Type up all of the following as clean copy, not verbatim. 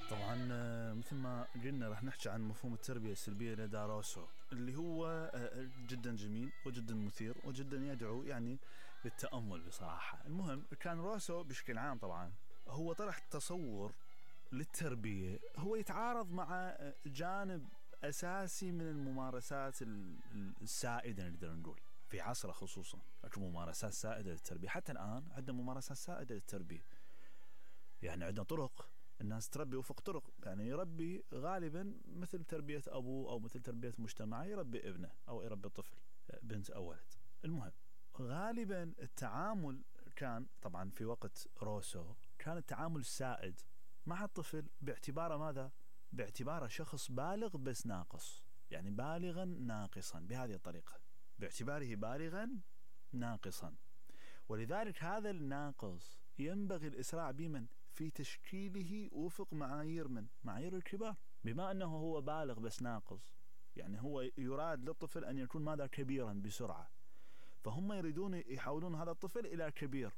طبعا مثل ما قلنا راح نحكي عن مفهوم التربية السلبية لدى روسو، اللي هو جدا جميل وجدا مثير وجدا يدعو يعني للتأمل بصراحة. المهم كان روسو بشكل عام طبعا هو طرح تصور للتربية هو يتعارض مع جانب أساسي من الممارسات السائدة نقدر نقول في عصره، خصوصا ممارسات سائدة للتربية. حتى الآن عندنا ممارسات سائدة للتربية، يعني عندنا طرق الناس تربي وفق طرق، يعني يربي غالبا مثل تربية أبوه أو مثل تربية مجتمعه يربي ابنه أو يربي طفل، بنت أو ولد. المهم غالبا التعامل كان طبعا في وقت روسو كان التعامل السائد مع الطفل باعتباره ماذا؟ باعتباره شخص بالغ بس ناقص، يعني بالغا ناقصا بهذه الطريقة، باعتباره بالغا ناقصا. ولذلك هذا الناقص ينبغي الإسراع بمن في تشكيله وفق معايير من معايير الكبار. بما أنه هو بالغ بس ناقص، يعني هو يراد للطفل أن يكون ماذا؟ كبيرا بسرعة، فهم يريدون يحولون هذا الطفل إلى كبير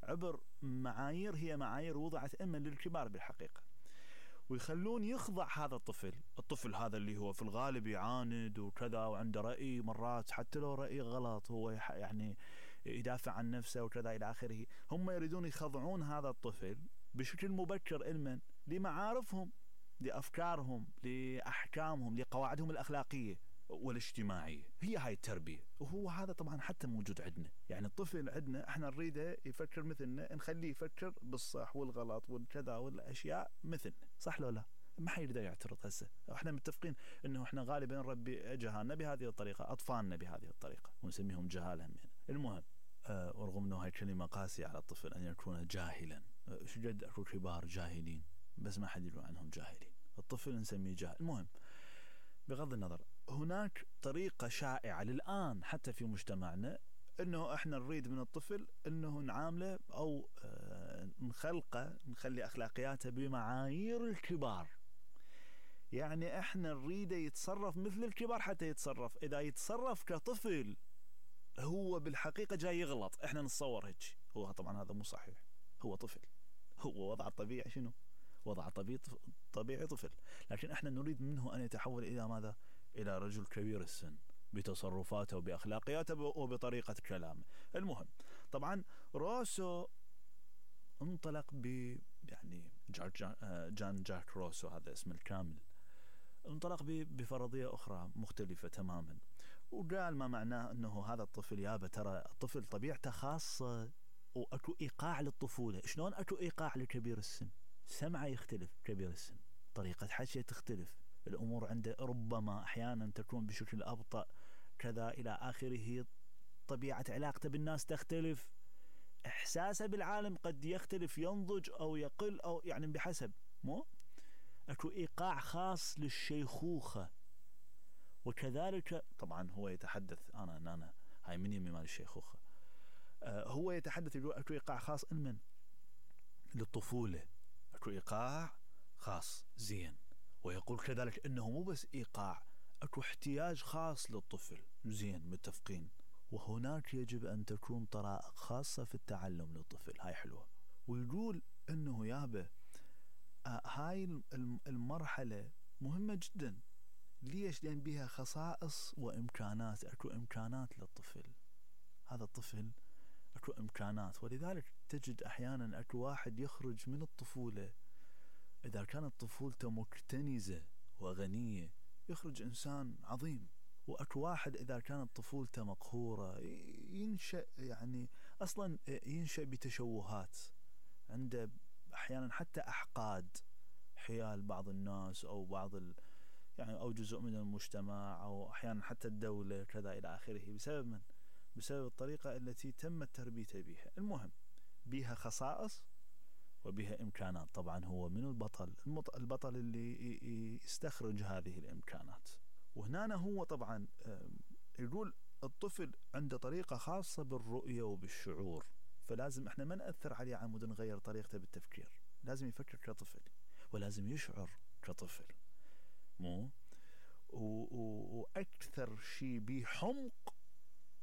عبر معايير هي معايير وضعت إما للكبار بالحقيقة، ويخلون يخضع هذا الطفل هذا اللي هو في الغالب يعاند وكذا وعنده رأي، مرات حتى لو رأي غلط هو يعني يدافع عن نفسه وكذا إلى آخره. هم يريدون يخضعون هذا الطفل بشكل مبكر علما لمعارفهم، لأفكارهم، لأحكامهم، لقواعدهم الأخلاقية والاجتماعية. هي هاي التربية، وهو هذا طبعا حتى موجود عندنا. يعني الطفل عندنا احنا نريده يفكر مثلنا، نخليه يفكر بالصح والغلط والكذا والأشياء مثلنا، صح لو لا؟ ما حيقدر يعترض. هسه احنا متفقين انه احنا غالبا نربي جهالنا بهذه الطريقة، اطفالنا بهذه الطريقة، ونسميهم جهال همين. المهم ورغم انه هاي كلمة قاسية على الطفل ان يكون جاهلا، شجد اكو كبار جاهلين بس ما حد يقول عنهم جاهلين، الطفل نسميه جاهل. المهم بغض النظر، هناك طريقة شائعة للآن حتى في مجتمعنا انه احنا نريد من الطفل انه نعامله او نخلقه، نخلي اخلاقياته بمعايير الكبار. يعني احنا نريده يتصرف مثل الكبار حتى يتصرف. اذا يتصرف كطفل هو بالحقيقة جاي يغلط، احنا نتصور هيك. هو طبعا هذا مو صحيح، هو طفل، هو وضع الطبيعي شنو؟ وضع طبيعي طفل، لكن احنا نريد منه ان يتحول الى ماذا؟ الى رجل كبير السن بتصرفاته وباخلاقياته وبطريقة كلامه. المهم طبعا روسو انطلق يعني جان جاك روسو، هذا اسمه الكامل، انطلق بفرضية أخرى مختلفة تماما، وقال ما معناه أنه هذا الطفل يابا ترى الطفل طبيعته خاصة وأكو إيقاع للطفولة. شلون أكو إيقاع لكبير السن؟ سمعه يختلف كبير السن، طريقة حكيه تختلف، الأمور عنده ربما أحيانا تكون بشكل أبطأ كذا إلى آخره، طبيعة علاقته بالناس تختلف، إحساسه بالعالم قد يختلف، ينضج أو يقل أو يعني بحسب مو أكو إيقاع خاص للشيخوخة. وكذلك طبعا هو يتحدث أنا هاي من يمي مال الشيخوخة، هو يتحدث يقول أكو إيقاع خاص من للطفولة، أكو إيقاع خاص زين. ويقول كذلك أنه مو بس إيقاع، أكو احتياج خاص للطفل زين، متفقين. وهناك يجب أن تكون طرائق خاصة في التعلم للطفل، هاي حلوة. ويقول أنه يابا هاي المرحلة مهمة جدا. ليش؟ لأن بها خصائص وإمكانات، أكو إمكانات للطفل، هذا الطفل أكو إمكانات. ولذلك تجد أحيانا أكو واحد يخرج من الطفولة، إذا كانت طفولته مكتنزة وغنية يخرج إنسان عظيم. وأكو واحد إذا كانت طفولته مقهورة ينشأ، يعني أصلا ينشأ بتشوهات، عنده أحيانا حتى أحقاد حيال بعض الناس أو بعض يعني أو جزء من المجتمع أو أحيانا حتى الدولة كذا إلى آخره، بسبب من؟ بسبب الطريقة التي تمت تربيته بها. المهم بها خصائص وبها إمكانات. طبعا هو من البطل اللي يستخرج هذه الإمكانات. وهنا هو طبعا يقول الطفل عنده طريقة خاصة بالرؤية وبالشعور، فلازم احنا ما نأثر عليه عمود نغير طريقته بالتفكير، لازم يفكر كطفل ولازم يشعر كطفل، مو وأكثر شيء بحمق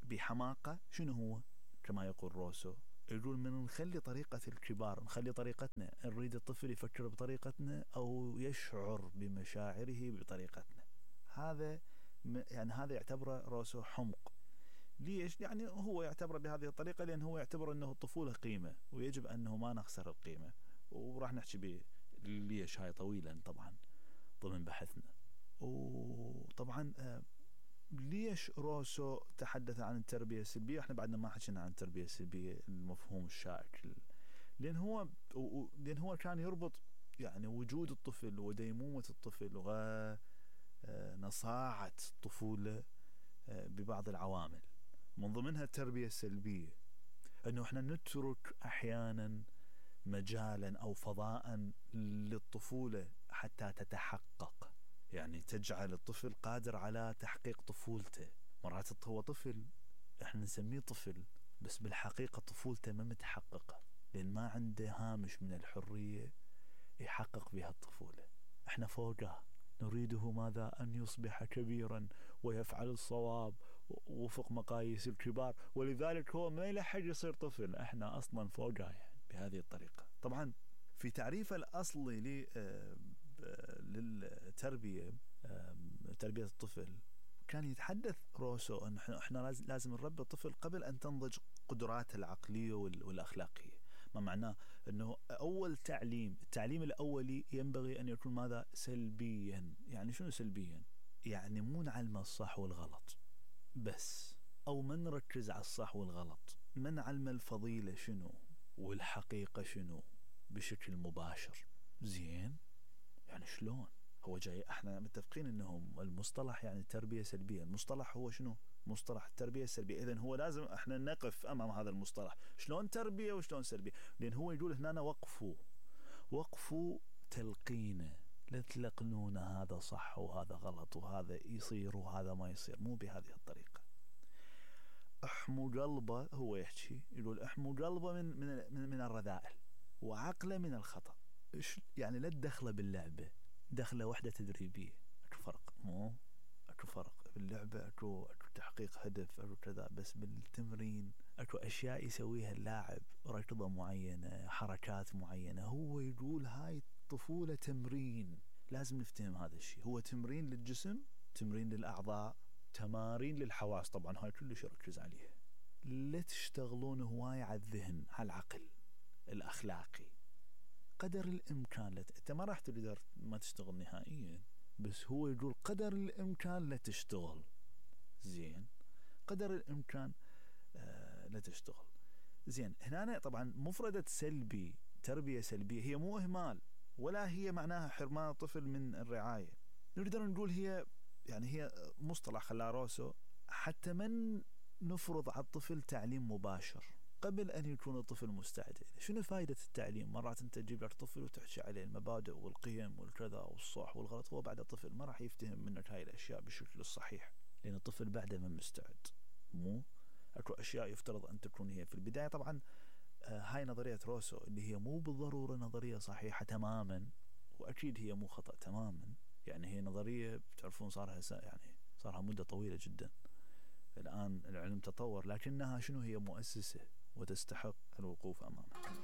بحماقة شنو هو؟ كما يقول روسو يقول من نخلي طريقة الكبار، نخلي طريقتنا، نريد الطفل يفكر بطريقتنا أو يشعر بمشاعره بطريقتنا. هذا يعني هذا يعتبره روسو حمق. ليش؟ يعني هو يعتبره بهذه الطريقة لأن هو يعتبر أنه الطفولة قيمة ويجب أنه ما نخسر القيمة، وراح نحكي ليش هاي طويلا طبعا ضمن بحثنا. وطبعا ليش روسو تحدث عن التربية السلبية؟ احنا بعدنا ما حكينا عن التربية السلبية المفهوم الشائك، لأن هو كان يربط يعني وجود الطفل وديمومة الطفل ونصاعة الطفولة ببعض العوامل، من ضمنها التربية السلبية، أنه احنا نترك أحيانا مجالا أو فضاء للطفولة حتى تتحقق، يعني تجعل الطفل قادر على تحقيق طفولته. مرات هو طفل، احنا نسميه طفل بس بالحقيقة طفولته ما متحققة، لأن ما عنده هامش من الحرية يحقق بها الطفولة. احنا فوقه نريده ماذا؟ أن يصبح كبيرا ويفعل الصواب وفق مقاييس الكبار، ولذلك هو ما يلحق يصير طفل، احنا أصلا فوقه يعني بهذه الطريقة. طبعا في تعريف الأصلي للتربية، تربية الطفل، كان يتحدث روسو أن احنا لازم نربي الطفل قبل أن تنضج قدراته العقلية والأخلاقية. ما معناه؟ أنه أول التعليم الأولي ينبغي أن يكون ماذا؟ سلبيا. يعني شنو سلبيا؟ يعني مو نعلم الصح والغلط بس، أو ما نركز على الصح والغلط، ما نعلم الفضيلة شنو والحقيقة شنو بشكل مباشر. زين؟ يعني شلون؟ هو جاي، احنا متفقين انهم المصطلح يعني تربية سلبية، المصطلح هو شنو؟ مصطلح التربية السلبية. اذن هو لازم احنا نقف امام هذا المصطلح، شلون تربية وشلون سلبية، لان هو يقول هنا وقفوا تلقينه، لا تلقنون هذا صح وهذا غلط وهذا يصير وهذا ما يصير، مو بهذه الطريقة. احموا قلبه، هو يحكي يقول احموا قلبه من الرذائل وعقله من الخطأ. يعني لا تدخله باللعبة دخله وحدة تدريبية. اكو فرق، مو اكو فرق باللعبة، اكو تحقيق هدف، اكو كذا، بس بالتمرين اكو اشياء يسويها اللاعب، ركضة معينة، حركات معينة. هو يقول هاي الطفولة تمرين، لازم نفتهم هذا الشيء. هو تمرين للجسم، تمرين للأعضاء، تمارين للحواس، طبعا هاي كلش يركز عليها. لا تشتغلون هواي على الذهن، على العقل الأخلاقي قدر الإمكان. انت ما راح تقدر ما تشتغل نهائيا، بس هو يقول قدر الإمكان لا تشتغل. زين؟ قدر الإمكان لا تشتغل. زين؟ هنا طبعا مفردة سلبي، تربية سلبية، هي مو إهمال ولا هي معناها حرمان الطفل من الرعاية. نقدر نقول هي مصطلح خلاه روسو حتى من نفرض على الطفل تعليم مباشر قبل أن يكون الطفل مستعد. شنو فائدة التعليم؟ مرات أنت تجيب لك طفل وتحكي عليه المبادئ والقيم والكذا والصح والغلط، هو بعد الطفل ما راح يفتهم منك هاي الأشياء بالشكل الصحيح، لأن الطفل بعده ما مستعد. مو أكو أشياء يفترض أن تكون هي في البداية. طبعا هاي نظرية روسو اللي هي مو بالضرورة نظرية صحيحة تماما، وأكيد هي مو خطأ تماما. يعني هي نظرية بتعرفون صارها مدة طويلة جدا، الآن العلم تطور، لكنها شنو؟ هي مؤسسة وتستحق الوقوف أمامها.